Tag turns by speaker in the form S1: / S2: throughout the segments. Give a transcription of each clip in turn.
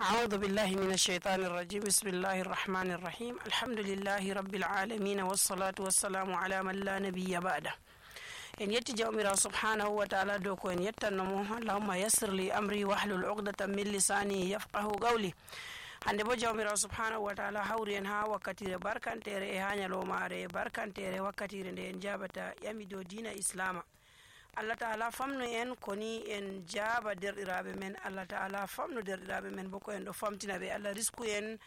S1: أعوذ بالله من الشيطان الرجيم بسم الله الرحمن الرحيم الحمد لله رب العالمين والصلاة والسلام على من لا نبي بعده إن يتجاومر سبحانه وتعالى دوكو إن يتنمو اللهم يسر لي أمري واحلل عقدة من لساني يفقه قولي hande bo jawmirawo subhanahu wa ta'ala hawri en ha wakkatire barkantere e ha nyalomare barkantere wakkatire nde en jabata yami dow dina islama. Allah ta'ala famnu en koni en jaba derɗiraɓe men, Allah ta'ala famnu derɗiraɓe men boko en ɗo famtina ɓe, Allah risku en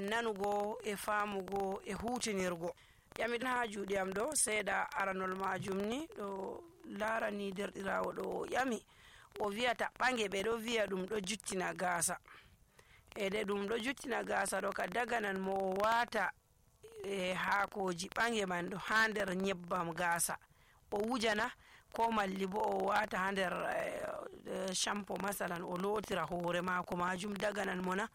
S1: nanugo e famugo e hutinirgo. Yamin ha juuɗe am ɗo seeɗa aranol majum ni ɗo larani derɗirawo ɗo yami o wiyata ɓange ɓe ɗo wiya ɗum ɗo juttina gasa ede ɗum ɗo juttina gasa ɗo ka daganan mo wata haakoji ɓange man ɗo ha nder nyebbam gasa o wujana ko malli bo o wata ha nder shampo masalan o lotira hoore mako majum daganan mona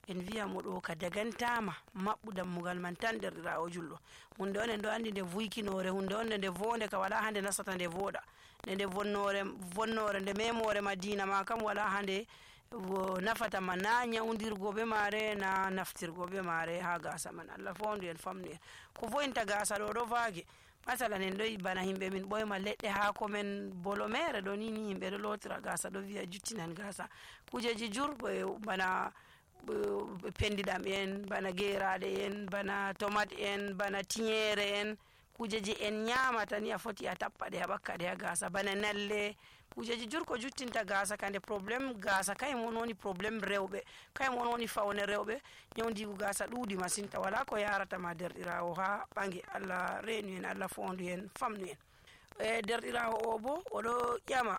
S1: en wiya mo ɗo ka dagantama maɓɓu dammugal man tan derɗirawo julɗo. hunde on en ɗo andi nde vuykinore, hunde on nde vonde ka wala hande nasata nde voɗa, nde vonnore nde memore madina ma kam wala hande nafata ma na nyawdirgo be mare na naftirgo be mare ha gasa man. Allah fondu en famnu en ko vointa gasa ɗo vaage masalan en ɗo bana himɓe min ɓoyma leɗɗe haako men bolo mere ɗo ni himɓe ɗo lotira gasa ɗo wiya juttinan gasa kujeji jur bana pendiɗam en, bana geraɗe en, bana tomate en, bana tinyere en, kujeji en nyamata ni a foti a tappa ɗe a ɓakka ɗe ha gasa, bana nalle kujeji jur ko juttinta gasa kande probléme gasa kaymo woni probléme rewɓe, kaymo woni fawne rewɓe. nyawdigu gasa ɗuuɗi masinta wala ko yaratama derɗirawo ha ɓange. Allah reenu en, Allah fondu en, famnu en. Derɗirawo o bo oɗo ƴama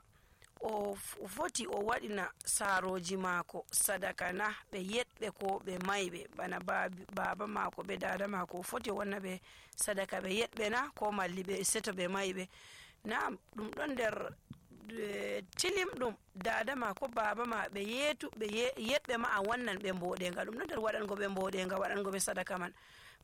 S1: o foti o waɗina saroji mako sadaka na ɓe yeɗɓe ko ɓe mayɓe bana baba mako ɓe dada mako o foti o wanna ɓe sadaka ɓe yeɗɓe na ko malli ɓe seto ɓe mayɓe na ɗum ɗon nder tilim ɗum dada ma ko baba ma ɓe yeɗɓe ma a wannan ɓe mboɗenga ɗum ɗon nder waɗango ɓe mboɗenga waɗango ɓe sadaka man.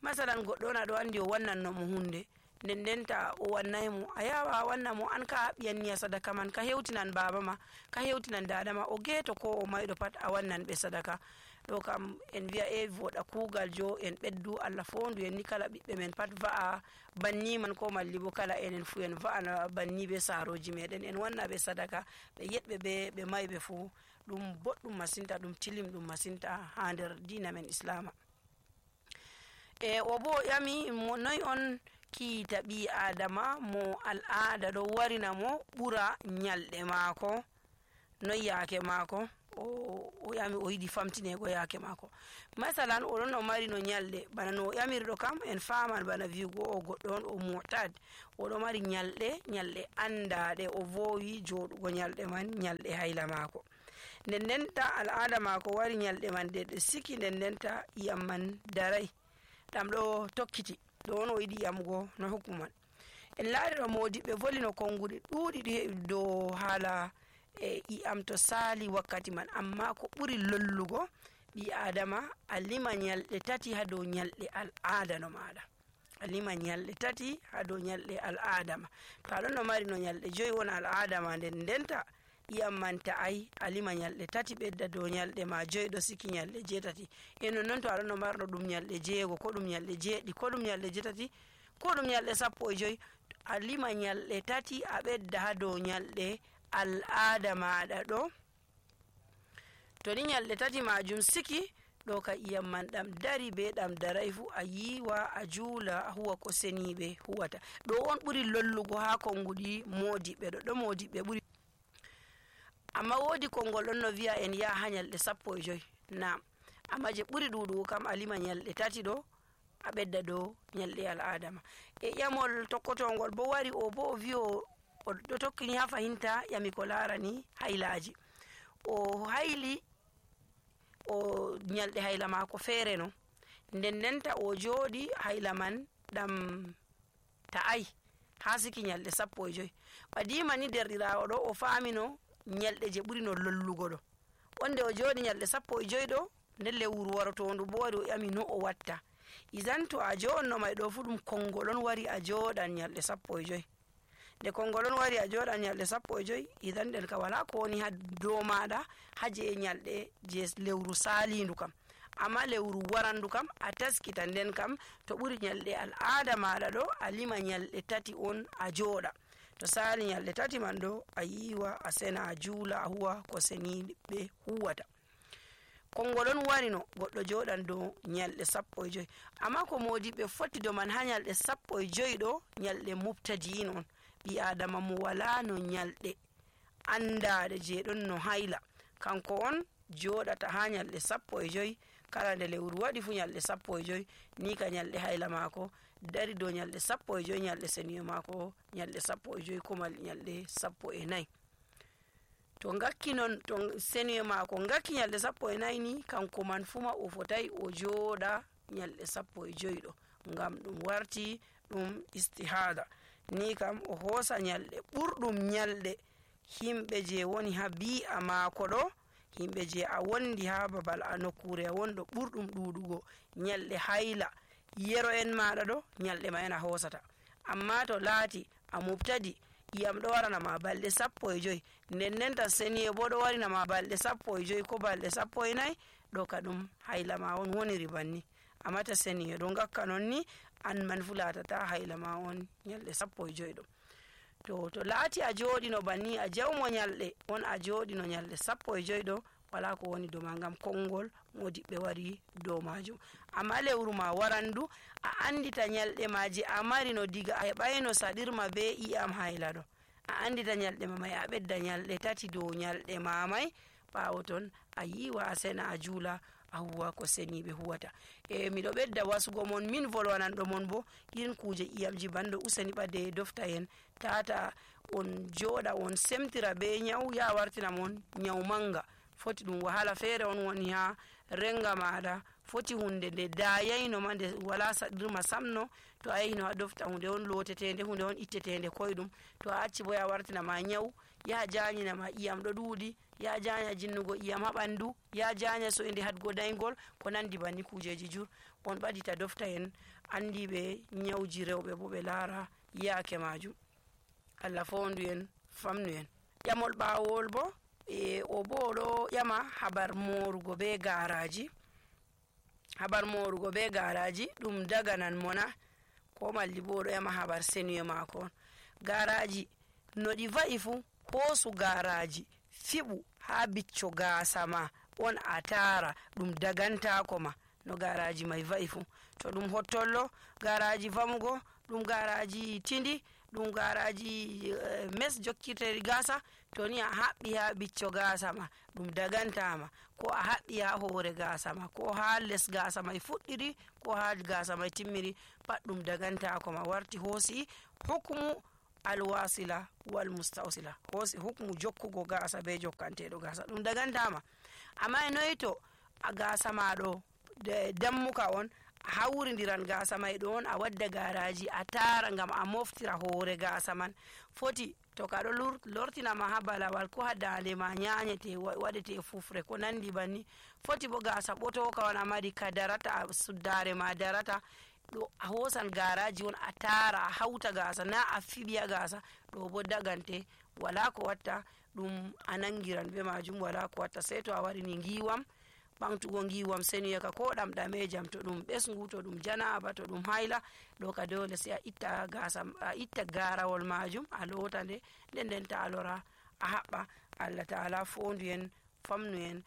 S1: masalan goɗɗo on aɗo andi o wannanno mo hunde nden ndenta o wannay mo a yawa a wanna mo an ka ɓiyanniya sadaka man ka hewtinan baba ma ka hewtinan dada ma o geeto ko o mayɗo pat a wannan ɓe sadaka. ɗo kam en wiya e voɗa kuugal jo en ɓeddu Allah fondu en ni kala ɓiɓɓe men pat va'a banni man ko malli bo kala enen fu en va'ana banni be saroji meɗen en wanna ɓe sadaka ɓe yeɗɓe ɓe mayɓe fu ɗum boɗɗum masinta, ɗum tilim ɗum masinta ha nder dina men islama. O bo yami mo noy on kiita ɓi adama mo al'ada ɗo warina mo ɓura nyalɗe mako noy yaake mako o yami o yiɗi famtinego yaake mako. masalan oɗon o mari no nyalɗe bana no yamirɗo kam en faman bana wiugo o goɗɗo on o mu'tad oɗo mari nyalɗe andaɗe o vowi joɗugo nyalɗe man nyalɗe hayla mako nden ndenta al'ada mako wari nyalɗe man ɗe siki nden ndenta iyam man darai ɗam ɗo tokkiti ɗo on o yiɗi yamugo no hukuman. en laari ɗo modiɓɓe voli no konguɗe ɗuuɗi dow haala iyam to sali wakkati man, amma ko ɓuri lollugo ɓi adama a lima nyalɗe tati ha dow nyalɗe al'ada no maɗa, a lima nyalɗe tati ha dow nyalɗe al'ada ma. to aɗon no mari no nyalɗe 5 won al'ada ma nden ndenta iyam man ta'ai a lima nyalɗe tati ɓedda dow nyalɗe ma 5 ɗo siki nyalɗe 8 e nonnon to aɗon no marɗo ɗum nyalɗe 6 ko ɗum nyalɗe 7 ko ɗum nyalɗe 8 ko ɗum nyalɗe 15 a lima nyalɗe tati a ɓedda ha dow nyalɗe al'ada maɗa ɗo. to ni nyalɗe tati majum siki ɗo ka iyam man ɗam dari be ɗam darai fu a yiwa a juula a huwa ko seniɓe huwata. ɗo on ɓuri lollugo ha konguɗi modiɓɓe ɗo modiɓɓe ɓuri, amma wodi kongol ɗon no wiya en yaha ha nyalɗe 15 na amma je ɓuri ɗuɗugo kam a lima nyalɗe tati ɗo a ɓedda dow nyalɗe al'ada ma. ƴamol tokkotongol bo wari o bo o wi o ɗo tokkini ha fahinta yami ko larani haylaji o hayli o nyalɗe hayla mako feere no nden ndenta o jooɗi hayla man ɗam ta'ai ha siki nyalɗe 15 ɓadima ni derɗirawo ɗo o famino nyalɗe je ɓuri no lollugo ɗo onde o jooɗi nyalɗe 15 ɗo nden lewru warotondu bo wari o ƴami no o watta. idan to a joɗno may ɗo fu ɗum kongol on wari a joɗan nyalɗe 15 nde konngol on wari a jooɗan ñalɗe 15 idan nden ka wala ko woni ha dow maɗa haje ñalɗe je lewru salindu kam. amma lewru warandu kam a taskita, nden kam to ɓuri ñalɗe al'ada maɗa ɗo a lima ñalɗe 3 on a jooɗa. to sali ñalɗe 3 man ɗo a yiwa a sena a juula a huwa ko seniɓe huwata. konngol on wari no goɗɗo jooɗan dow ñalɗe 15, amma ko modiɓe foti do man ha ñalɗe 15 ɗo ñalɗe mubtadi'in on, ɓi adama mo wala no ñalɗe andaɗe je ɗon no hayla, kanko on jooɗata ha ñalɗe 15 kala nde lewru waɗi fu ñalɗe 15 ni ka ñalɗe hayla mako dari dow ñalɗe 15 ñalɗe seniyo mako ñalɗe 15 ko mal ñalɗe 14. to ngakki non to seniyo mako ngakki ñalɗe 14 ni kanko man fuma o fotai o jooɗa ñalɗe 15 ɗo, ngam ɗum warti ɗum istihada. ni kam o hoosa ñalɗe ɓurɗum ñalɗe himɓe je woni ha bi'a mako ɗo, himɓe je a wondi ha babal a nokkure a wonɗo ɓurɗum ɗuɗugo ñalɗe hayla yero en maɗa ɗo ñalɗe ma en a hosata. amma to laati a mubtadi iyam ɗo waranama balɗe 15 nden tan seniye bo ɗo warinama balɗe 15 ko balɗe 14 ɗo ka ɗum hayla ma on woniri banni. amma ta seniye ɗo ngakka non ni an man fu latata hayla ma on ñalɗe 15 ɗo. to laati a jooɗino banni a jawmo ñalɗe on a jooɗino ñalɗe 15 ɗo wala ko woni dow ma, ngam konngol modiɓɓe wari dow majum. amma lewru ma warandu a andita ñalɗe ma je a mari no diga a heɓayno saɗirma be iyam hayla ɗo, a andita ñalɗe ma may a ɓedda ñalɗe 3 dow ñalɗe ma may, ɓawo ton a yiwa a sena a juula a huwa ko seniɓe huwata. miɗo ɓedda wasugo mon min volwananɗo mon bo irin kuje iyamji bando useni ɓade dofta en tata on jooɗa on semtira be nyau ya wartina mon nyau manga, foti ɗum wahala feere on woni ha renga maɗa, foti hunde nde dayayno ma nde wala saɗirma samno, to a yahino ha dofta hunde on lotetende, hunde on ittetende koyɗum, to a acci bo ya wartina ma nyau, ya janyina ma iyam ɗo ɗuuɗi, ya janya jinnugo iyam ha ɓandu, ya janya so'inde hadgo daygol, ko nandi banni kujeji jur on ɓadita dofta en andiɓe nyauji rewɓe bo ɓe laara yaake majum. Allah fondu en famnu en. ƴamol ɓawol bo o bo ɗo ƴama habar morugo be garaji. habar morugo be garaji ɗum daganan mona, ko malli bo ɗo ƴama habar seniyo mako on. garaji no ɗi va'i fu hoosu garaji fiɓu ha bicco gasa ma on a tara ɗum dagantako ma no garaji mai va'i fu. to ɗum hottollo garaji vamugo, ɗum garaji tindi, ɗum garaji mes jokkiteri gasa, to ni a haɓɓi ha bicco gasa ma ɗum dagantama, ko a haɓɓi ha hoore gasa ma, ko ha les gasa mai fuɗɗiri, ko ha gasa mai timmiri, pat ɗum dagantako ma, warti hoosi hukmu alwasila wal mustausila, hoosi hukmu jokkugo gasa be jokkanteɗo gasa, ɗum dagantama. amma e noyi to a gasa ma ɗo dammuka on, a hawridiran gasa mai ɗo on a wadda garaji a tara ngam a moftira hoore gasa man, foti to kaɗo lortinama ha balawal ko ha dande ma nyanyete waɗete fufre ko nandi banni, foti bo gasa ɓotoka on a mari ka darata, suddare ma darata, ɗo a hosan garaji on a tara a hauta gasa na a fiɓiya gasa, ɗo bo dagante wala ko watta ɗum a nangiran be majum, wala ko watta sei to a waɗini giwam, ɓamtugo giwam seniyaka ko ɗamɗamejam, to ɗum ɓesgu, to ɗum janaba, to ɗum hayla, ɗo ka dole sei a itta gasa, a itta garawol majum a lota nde nden ta a lora a haɓɓa. Allah ta'ala fondu en famnu en.